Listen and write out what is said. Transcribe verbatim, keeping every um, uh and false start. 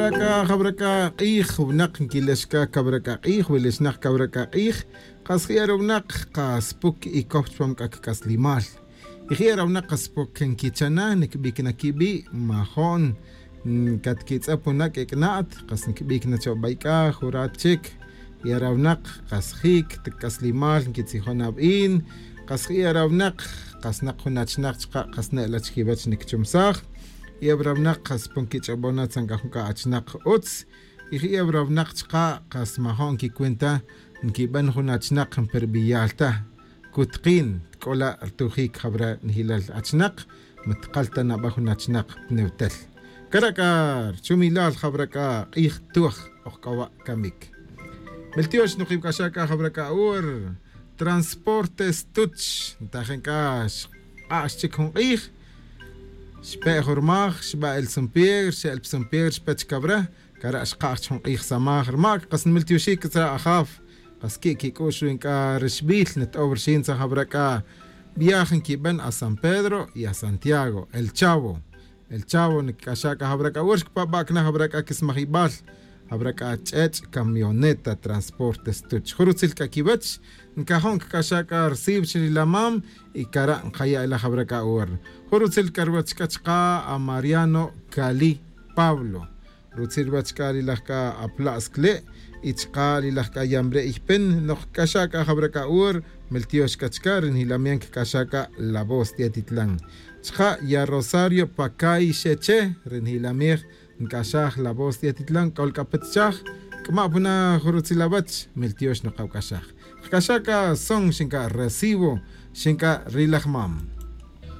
C'a jawra c'a k'ij winak nquilex c'a cawra c'a k'ij wilixnak cawra c'a k'ij. Kas je'e' rawnak kas puc y coj chupam c'a quic'aslimal. Y je'e' rawnak kas puc nquichana niquibic na quibi' majo'n catquitz'ap wuna' q'uec'na'at kas niquibic na cho bay c'a jurat chic. Y arawnak kas jic ta c'aslimal nquitzijon abin. Kas je'e' arawnak kas nak jun achnak chaka' kas ne'la chiquiwech niquichumsaj. Y arawnak kas puc nquich'obon na tzan c'a jun c'a achnak utz. Y je'e' arawnak chaka' kas majo'n nquicuenta nquiben jun achnak nperbiyal ta. Cutkin c'ola' rtujic jawra nijilal achnak. Ma tkal ta naba jun achnak pnewtel. Cara' c'a rchumilal jawra c'a k'ij tuj ojc'owa' camic. Meltiox nukibc'axa' c'a jawra c'a ur transporte stuch ntajen c'a xk'a'x chic jun k'ij. Xpe' jun rmaj xba' el san pedro xe'el pa san pedro xpe chik cawra. Cara' xka'j chi jun k'ij samaj rma' c'a kas nmiltioxi' c'a tzra' ajaf. Kas qui' quic'u'x wi nc'a rixbil nto'ow rixin tzajawra c'a viaj nquiben a san pedro y a santiago el chavo. El chavo ncac'axa' c'a jawra c'a ur xcpaba' cana jawra c'a quismajibal. Jawra c'a ch'ech' camioneta transporte stuch jun rutzil c'a quiwech. Ncajo' ncac'axa' c'a rcib chi rilamam y cara' nkaya' ila jawra c'a ur. Jun rutzil c'a ruwech c'a chaka' a mariano cali pablo. Rutzil ruwech c'a ri laj c'a apla'scle' y chaka' ri laj c'a yambre' ypen. Nok cc'axa' c'a jawra c'a ur meltiox c'a chaka' ri njilamian cc'axa' c'a la voz de atitlan. Chaka' ya rosario pacay xeche ri njilamej nc'axaj la voz de atitlan c'ol c'a petchaj. C'ama' puna jun rutzil awech meltiox nokawc'axaj. Cc'axa' c'a son xin c'a recibo xin c'a ri laj mam.